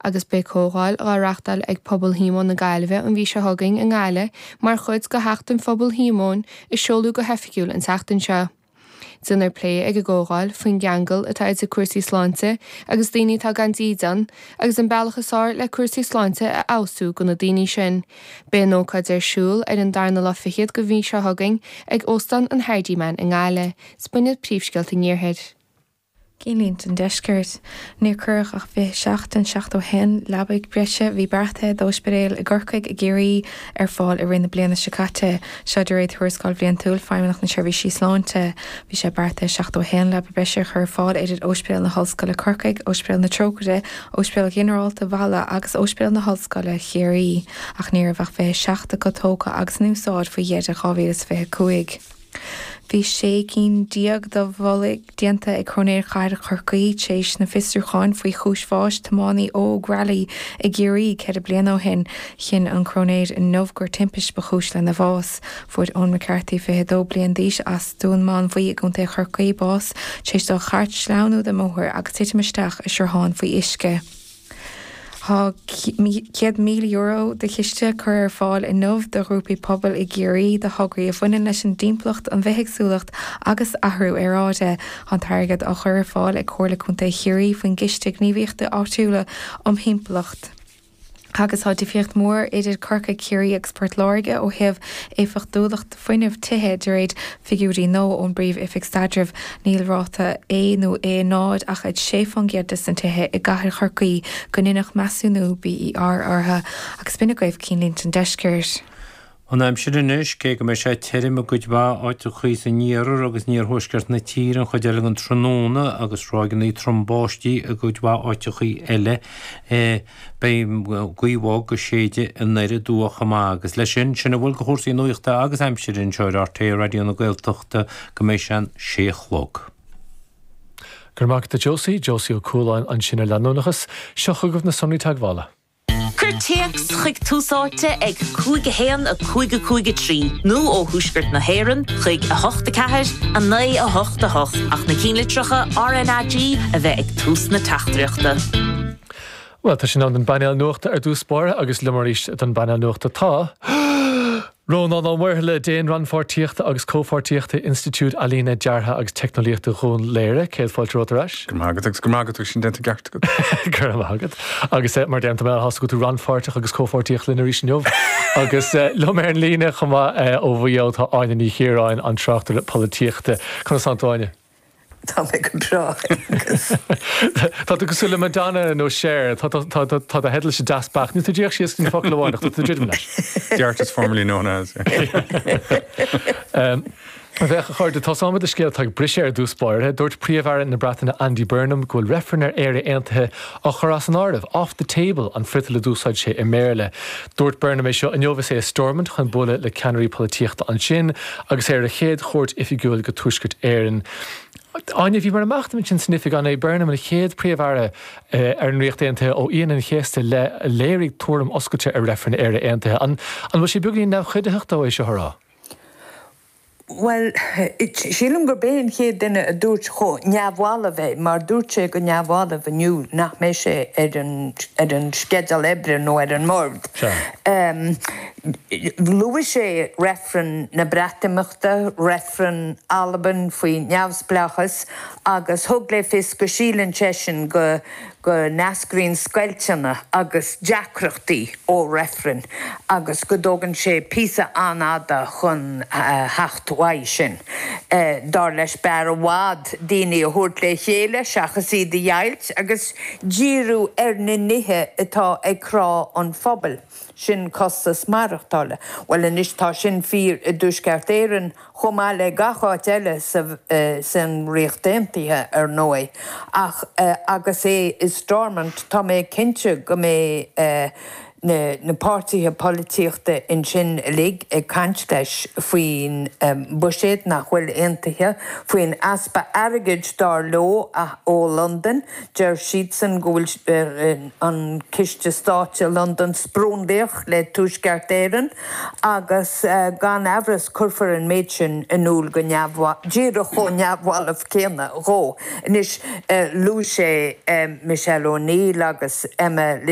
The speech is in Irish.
Agus beidh comhdháil dhá reachtáil ag Pobal Shíomóin na Gaillimhe an mhí seo chugainn i nGaillimh mar chuid de Sheachtain Phobal Shíomóin a seoladh go hoifigiúil an tseachtain seo. Déanfar plé ag an gcomhdháil faoin gceangal atá idir cúrsaí sláinte agus daoine atá gan dídean agus an bealach is fearr le cúrsaí sláinte a fheabhsú do na daoine sin. Beidh an ócáid ar siúl ar an darna lá fichead de mhí seo chugainn ag Óstán an Hardiman i nGaillimh. 'S b'in iad príomhscéalta an Iarthair. Cinnlínte an Deiscirt. Níor cuireadh ach 27 den 71 leabaidh breise a bhí beartaithe d'óispidéil i gCorcaigh, i gCiarraí ar fáil i rith na bliana seo caite. Seo de réir tuarascáil bhliantúil Feidhmeannacht na Seirbhísí Sláinte. Bhí sé beartaithe 71 leaba breise a chur ar fáil idir Óispidéal na hOllscoile Corcaigh, Óispidéal na Trócaire, Óispidéal Ghinearálta Mhala agus Óispidéal na hOllscoile Chiarraí ach ní raibh ach 27 acu tógtha agus in úsáid faoi dheireadh 2025. Bhí 16 cinn de mholtaí déanta ag Cróinéir Chathair Chorcaí tar éis na fiosrúcháin faoi chúis bháis tiománaí óg railí i gCiarraí 4 bliana ó shin. Chinn an Cróinéir inniu gur timpist ba chúis lena bhás. Fuair Eoin McCarthy, 22 bliain d'aois, as Dún Mánmhaí i gContae Chorcaí, bás tar éis dá chairt sleamhnú den mbóthar agus titim isteach i sruthán faoi uisce. Tá €100,000 de chiste curtha ar fáil inniu do ghrúpaí pobail i gCiarraí do thograí a bhaineann leis an dtimpeallacht, an bhithéagsúlacht agus athrú aeráide. Tá an t-airgead á chur ar fáil ag Comhairle Contae Chiarraí faoin gCiste Gníomhaíochta Áitiúla um Thimpeallacht. Agus tá difríocht mhór idir Corcaigh, Ciarraí agus Port Láirge ó thaobh éifeachtúlacht fuinnimh tithe, de réir figiúirí nua ón bPríomh-Oifig Staidrimh. Níl ráta A nó A0 ach ag 6% des na tithe i gcathair Chorcaí go ndeineadh measúnú BER orthu. Agus b'in agaibh Cinnlínte an Deiscirt. An aimsir anois, cé go mbeidh sé tirim i gcuid mhaith áiteachaí san iarthar agus in iarthuaisceart na tíre an chuid eile den tráthnóna agus ráigeanna trom báistí i gcuid mhaith áiteachaí eile, Beidh gaoth bhog ag séideadh anoir aduaidh chomh maith agus leis sin, sin a bhfuil de chúrsaí nuachta agus aimsire anseo ar RTÉ Raidió na Gaeltachta go mbeidh sé an sé a chlog. Go raibh maith agat a Josie, Josie Ó Cualáin ansin ar Leanúnachas. Seo chugaibh na sonraí teagmhála. Cuir téacs chuig Tús Áite ag 5 1 5 5 3 nó ó thuaisceart na hÉireann chuig 8 4 9 8 8 ach na cinnlitreacha RnaG a bheith ag tús na teachtaireachta. Bhuel, tá sé in am don bpainéal nuachta ar dtús báire agus liom arís don bpainéal nuachta tá, Rónán Ó Muirthile, Déan Rannpháirtíochta agus Comhpháirtíochta Institiúid Ealaíne, Deartha agus Teicneolaíochta Dhún Laoghaire. Céad fáilte romhat ar ais. Go raibh maith agat agus go raibh maith agat agus sin déanta i gceart agat. Go raibh maith agat. Agus mar a deirim, tá mé an-shásta go bhfuil tú rannpháirteach agus comhpháirtíoch linn arís inniu. Agus liom ar an líne chomh maith ó Mhaigh Eo tá Áine Ní Chiaráin, an tráchtaire polaitíochta. Conas tánn tú, Áine? Tá mé go breá, Aengus. Tá tú cosúil le Madonna nó Cher. Tá do theidilse deas beacht. Níl tú díreach síos go dtí an focal amháin ach tá tú ag druidim leis. The artist formerly known as. Bhuel, a chairde, tosóimid le scéal atá ag briseadh ar dtús báire. Dúirt Príomh-Aire na Breataine Andy Burnham go bhfuil reifreann ar Éire Aontaithe á chur as an áireamh, off the table an friotal a d'úsáid sé i mBéarla. Dúirt Burnham é seo inniu is é i Stormont chun bualadh le ceannairí polaitíochta ansin agus é ar a chéad chuairt oifigiúil go Tuaisceart Éireann. Áine, bhíomar ag machnamh ansin san oifig, an é Burnham an chéad Phríomh-Aire ar an Ríocht Aontaithe ó Aoine an Chéasta i leith a léirigh tuairim oscailte ar reifreann Éire Aontaithe? An bhfuil sé beagainín neamhchuiditheach dó é seo a rá? Bhuel, sílim gurb é an chéad duine a dúirt chomh neamhbhalbh é, mar dúirt sé go neamhbhalbh inniu nach mbeidh sé ar an ar an sceideal oibre nó ar an mbord. Luaigh sé reifreann na Breatimeachta, reifreann Albain faoi neamhspleáchas agus thug le fios go síleann seisean go go n-eascraíonn scoilteanna agus deacrachtaí ó reifrinn agus go dtógann sé píosa an-fhada chun theacht uaidh sin. Dar leis b'fhearr i bhfad daoine a thabhairt le chéile seachas iad a dheighilt agus díriú ar na nithe atá ag crá an phobail, sin costas maireachtála. Bhuel anois tá sin fíor i dTuaisceart Éireann chomh maith le gach áit eile san Ríocht Aontaithe, ar ndóigh. Ach agus é i Stormont, tá mé cinnte go mbeidh na páirtithe polaitíochta ansin uilig ag caint leis faoin mbuiséad nach bhfuil aontaithe, faoin easpa airgid, dar leo, ó Londain. Deir siadsan go bhfuil an Ciste Stáit i Londain sprionlaíoch le Tuaisceart Éireann. Agus gan amhras cuirfear an méid sin in iúl go neamh, díreach chomh neamhbhalbh céanna dhó. Anois, luaigh sé Michelle O'Neill agus Emma.